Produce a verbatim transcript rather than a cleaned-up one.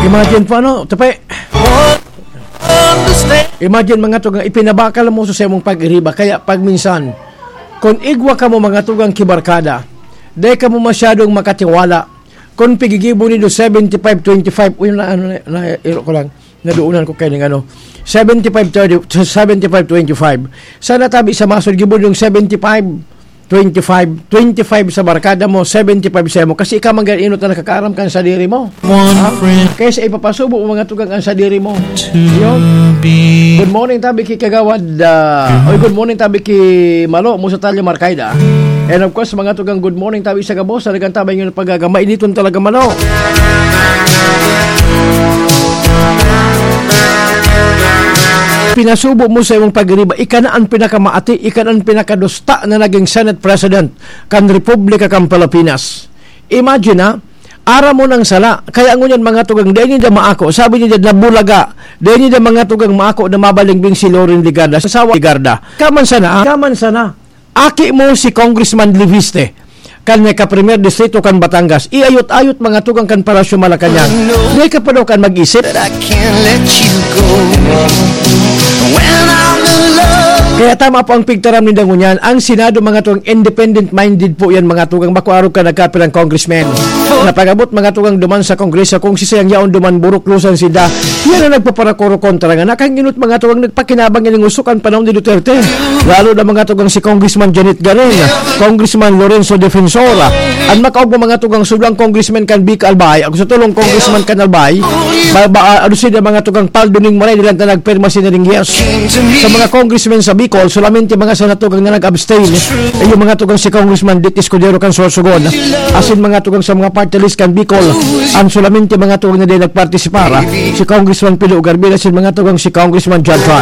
Imagine po, ano, tape. Imagine, mga tugang, ipinabakal mo sa imong pag-iriba. Kaya pag minsan, kung igwa ka mo, mga tugang, kibarkada, dai ka mo masyadong makatiwala. Kung pigigibo nindo seventy-five twenty-five, uy, na, ano, na, na, iro ko lang, naduunan ko kayo ng ano, seventy-five thirty, seventy-five twenty-five. Sana tabi sa masod, gibo yung seventy-five twenty-five, twenty-five sa barkada mo, seventy-five sa mo. Kasi ikaw man gani inot na nakakaaram kan sadiri mo. One Ha? friend Kaya sa ipapasubo mo, mga tugang, ang sadiri mo. Yun. Good morning, tabi ki Kagawad. Ah, oy, good morning, tabi ki Malo, mo sa Talya Markayda. And of course, mga tugang, good morning, tabi sa gabos. Talagang tabi yung pagagama. Initon talaga, Malo. Pinasubo mo sa imong pag-iriba, ika na ang pinakamaati, ika na ang pinakadusta na naging Senate President kan Republika kan Pilipinas. Imagine, ha? Aram mo ng sala. Kaya ngunyan, mga tugang, dai niya maako. Sabi niya, nabulaga. Dai niya, mga tugang, maako na mabalingbing si Loren Legarda. Sa asawa Legarda. Kaman sana, ha? Kaman sana. Aki mo si Congressman Leviste, kan may ka-Premier Distrito kan Batangas. Iayot-ayot, mga tugang, kan Palasyo Malacañang. Dai ka pa daw kan mag-isip? That I can't let you go. When I'm in love. Kaya tama po ang pigtaram ni Dangunyan. Ang Senado, mga tugang, independent-minded po yan, mga tugang. Bako arog ka nagkapirang congressman. Na pag-abot, mga tugang, duman sa Kongreso, kung si Sayang Yaon duman buruklusan sinda, yan ang nagpaparakoro kontra nga. Nakahinginot, mga tugang, nagpakinabang yan ng usok ang panahon ni Duterte. Lalo na, mga tugang, si Congressman Janet Garin, Congressman Lorenzo Defensor, ang makaog mo, mga tugang, sublang congressman kan Bika Albay, ako sa tulong congressman kan Albay, ba, ba, ano sila, mga tugang, Paldo ning Maray, nila na nagpirma sila ning yes. Sa mga congressmen sa Bicol, solamente mga sa natugang na nag-abstain, eh, yung mga tugang si Congressman Dick Escudero kan Sorsogon, asin mga tugang sa mga party list kan Bicol, ang solamente mga tugang na din nagpartisipar, si Congressman Pilo Garbil, asin mga tugang si Congressman John Tran.